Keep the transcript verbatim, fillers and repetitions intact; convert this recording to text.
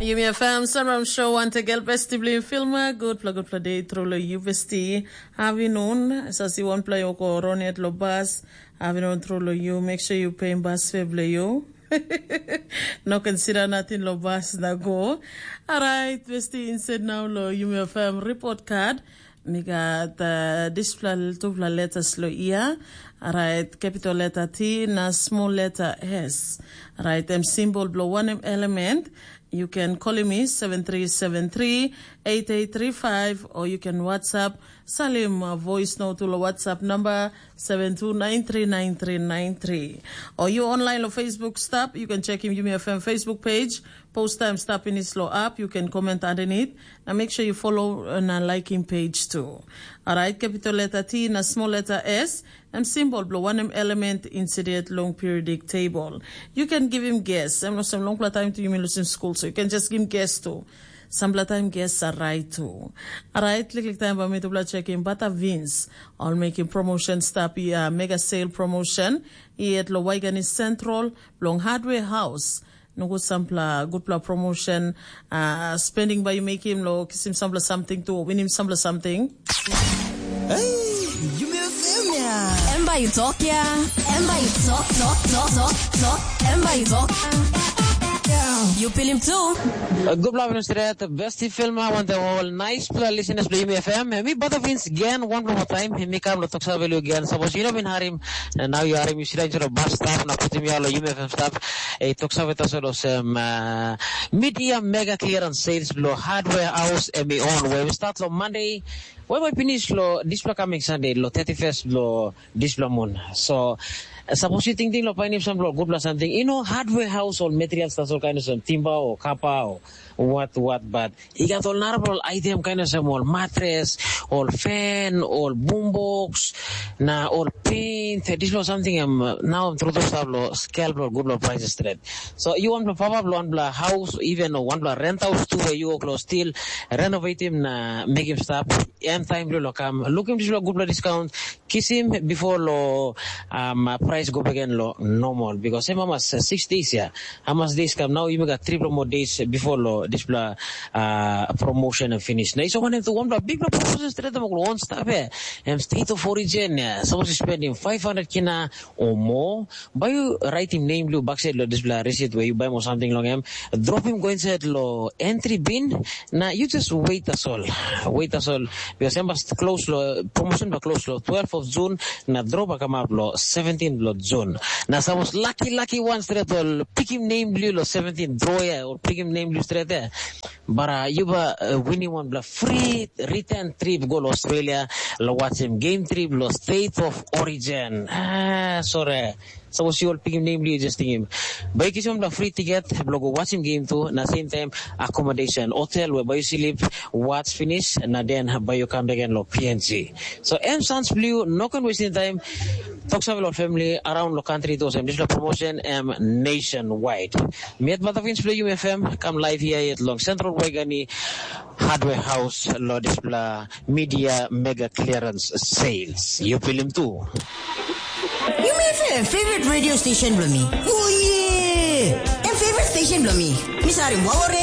Yumi F M Sunrise Show, wantegel besti bilong Filma. Gutpela gutpela de tru lo yu besti. Avinun, sasi wanpela yo ko ronet lo bas. Avinun tru lo yu, make sure you pay bas fare bilong yu. No consider nothing lo bas na go. Alright, besti, instead now lo Yumi F M report card. Mi gat uh, dispela tupela letters lo ia. Alright, capital letter T na small letter S. Alright, em symbol bilong wanem element. You can call me seven three seven three eight eight three five, or you can WhatsApp, salim uh, voice note to WhatsApp number seven two nine three nine three nine three. Or you online on Facebook stop, you can check him Yumi F M Facebook page. Post time stop in slow up, you can comment underneath. Now make sure you follow and uh, like him page too. Alright, capital letter T na small letter S, em symbol bilong wanem element incident long periodic table. You can give him guess. Em no sem long time to you mean losing school, so you can just give him guess too. Sampla time guess are right too. Alright, klik klik time ba mi tupla check him bata Vince. All making promotion stop ia mega sale promotion. Iet lo Waigani Central, long Hardware House. Nogut sampla gutpela promotion uh, spending by you make him lo kisim sampla something to winim sampla something. Hey, you may feel me. Em bai tok ya. Em bai tok tok tok tok tok. Em bai tok. You feel him too. Gupla Minister, besti Filma, want the whole nice pla listeners play me F M. Mi bata Vince again one more time. Mi kam lo toksa velu again. Suppose you know bin harim, and now you harim you sit down to the bus stop na putim you lo U M F M stop. E toksa veta so lo sem uh, media mega clearance sales lo hardware house and me on. Where we start lo Monday. Where we finish lo this lo coming Sunday lo thirty-first lo this lo moon. So Sapos yu tingting long painim sampela ol gutpela samting, i no hardware haus ol materials tasol kain olsem timba o kapa o wat wat, bat i gat ol narapela ol item kain olsem ol matres, ol fen, ol bumboks, na ol pent, dispela ol samting em nau em trutu stap long skel bilong ol gutpela prices stret. So yu wanpela papa bilong wanpela haus, even wanpela rent haus tu we yu wok long stil renovatim na mekim stap, em taim bilong kam lukim dispela gutpela discount, kisim before lo um, price go back again lo normal because em hamas uh, six days ya, hamas days kam now you got three more days before lo dispela uh, promotion and finish na iso wanem tu wanpela big promotion straight mo on staff ya, em state of origin ya, suppose to spend him five hundred kina or more. By you write him name lu backside lo dispela receipt where you buy mo something long him, drop him go inside lo entry bin. Na you just wait as all, wait as all. Because em must close lo promotion ba close lo twelve of June, na draw ba come up lo seventeen lo June. Na suppose lucky lucky one straight all pick him name blue lo seventeen draw ya or pick him name blue straight there. Bara you ba uh, winning one bla free return trip go lo Australia lo watch him game trip lo state of origin. Ah, sorry. Suppose you all pick him name, you just think him. By you kiss him the free ticket, blow go watch him game too, na same time accommodation, hotel where by you sleep, watch finish, na then by you come back and lo P N G. So M Sans Blue, no can wasting time. Talk some lot family around the country to some digital promotion M nationwide. Miat Batavin Blue U F M, come live here at Long Central Waigani Hardware House, lo dispela media mega clearance sales. You feel him too. You may have a favorite radio station blo me. Oh yeah! Em favorite station blo me. Misari Wawore